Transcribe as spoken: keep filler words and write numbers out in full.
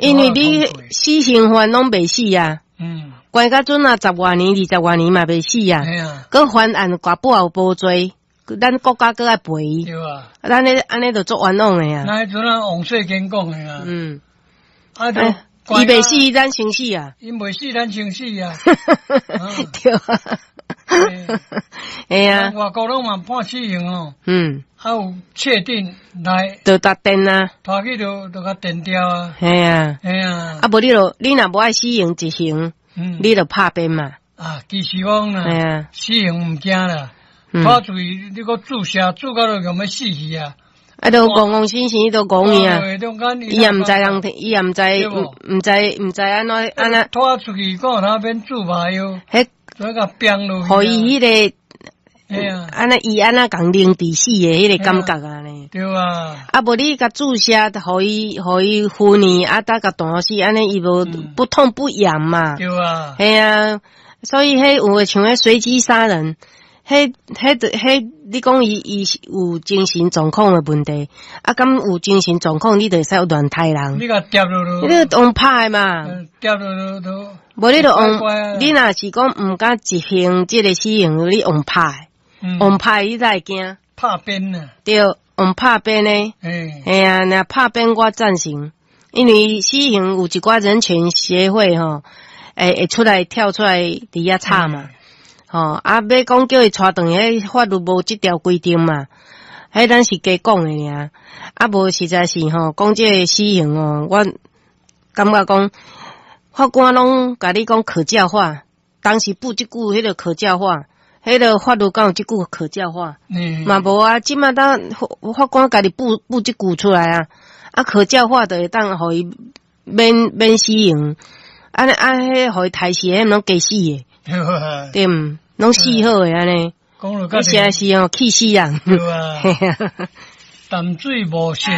因為你死刑犯攏袂死啊。嗯。關到陣啊，十外年、二十外年嘛袂死啊。閣翻案跋不有無罪，咱國家閣愛賠伊。對啊。咱咧按呢就足冤枉的啊。那彼陣啊，王世堅講的啊。嗯。啊，就伊袂死，咱先死啊。伊袂死，咱先死啊。對啊。會啊。外國攏嘛判死刑哦。嗯。啊有確定來。就踏電啊。拖去就就共電掉啊。係啊。係啊。啊無你就你若無愛死刑執行，你就拍鞭嘛。啊，其實講啦，死刑毋驚啦，拖出去你閣注射注到就欲死去啊。啊，都戇戇死死都戇伊啊！伊也毋知人，伊也毋知，毋知毋知按怎按怎。拖出去，講他免注麻藥，彼共鞭落予伊彼个，按呢伊按怎共凌遲死的彼个感覺啊呢？對啊。啊，無你共注射，予伊予伊敷呢，啊，得共斷死，按呢伊無不痛不癢嘛。對啊。係啊，所以彼有的像彼隨機殺人。彼、彼、彼，你講伊伊有精神狀況的問題，啊，敢有精神狀況，你就會使亂刣人。你共疊落落，你用拍的嘛？疊落落都。無你就用，你若是講毋敢執行這个死刑，你用拍，用拍你才會驚。拍鞭啊！對，用拍鞭呢？嘿啊，若拍鞭我贊成，因為死刑有一寡人權協會吼，會會出來跳出來佇遐吵嘛。吼，啊，欲講叫伊帶轉去，彼法律無這條規定嘛，彼咱是加講的爾。啊，無實在是吼，講這个死刑哦，我感覺講法官攏共你講可教化，當時補這句彼个可教化，彼个法律敢有這句可教化？嘛無啊，這馬當法官家己補補這句出來啊，啊，可教化就會當予伊免免死刑，按呢按彼予伊刣死，彼攏加死的。對毋？攏死好的按呢，實在是哦，氣死人。對啊，淡水無色。